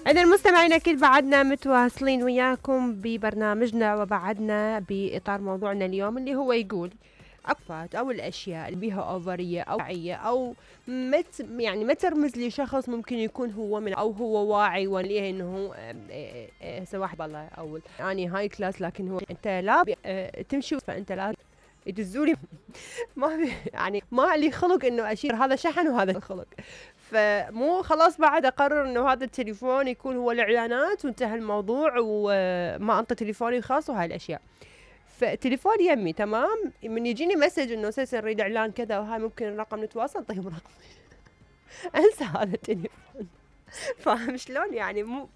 إذا المستمعين أكيد بعدنا متواصلين وياكم ببرنامجنا، وبعدنا بإطار موضوعنا اليوم اللي هو يقول أفات أو الأشياء اللي بيها أوفرية أو واعية أو يعني ما ترمز لشخص ممكن يكون هو من أو هو واعي وليه إنه هسه واحد والله أول يعني هاي كلاس، لكن هو أنت لا تمشي فأنت لا يدزولي ما يعني ما لي خلق إنه أشير هذا شحن وهذا الخلق، فمو خلاص بعد أقرر إنه هذا التليفون يكون هو الإعلانات وانتهى الموضوع وما أنطي تليفوني الخاص وهاي الأشياء. فتليفوني يمي تمام، من يجيني مسج إنه سيسي نريد إعلان كذا وهاي ممكن الرقم نتواصل، طيب رقم أنسى هذا التليفون. فاهم شلون يعني؟ مو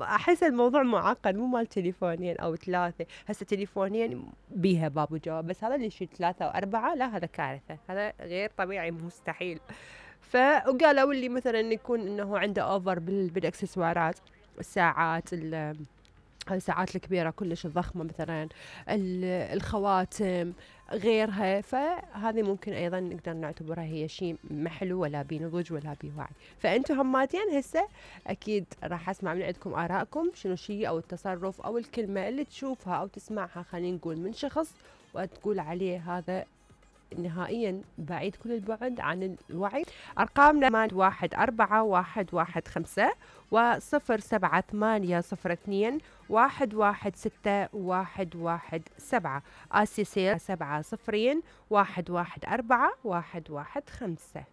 احس الموضوع معقد، مو مال تليفونين او ثلاثه، هسه تليفونين بيها باب وجواب، بس هذا اللي يشيل ثلاثه واربعه لا هذا كارثه، هذا غير طبيعي مستحيل. فقالوا اللي مثلا يكون انه عنده اوفر بالاكسسوارات، الساعات الساعات الكبيرة كلش الضخمة مثلا، الخواتم غيرها، فهذه ممكن أيضا نقدر نعتبرها هي شيء محلو ولا بنضج ولا بوعي. فأنتم هماتين هسه أكيد راح أسمع من عندكم آرائكم، شنو شيء أو التصرف أو الكلمة اللي تشوفها أو تسمعها خلينا نقول من شخص وتقول عليه هذا نهائيا بعيد كل البعد عن الوعي. أرقامنا 814115 و07402116117 آسيسير 70 114 115.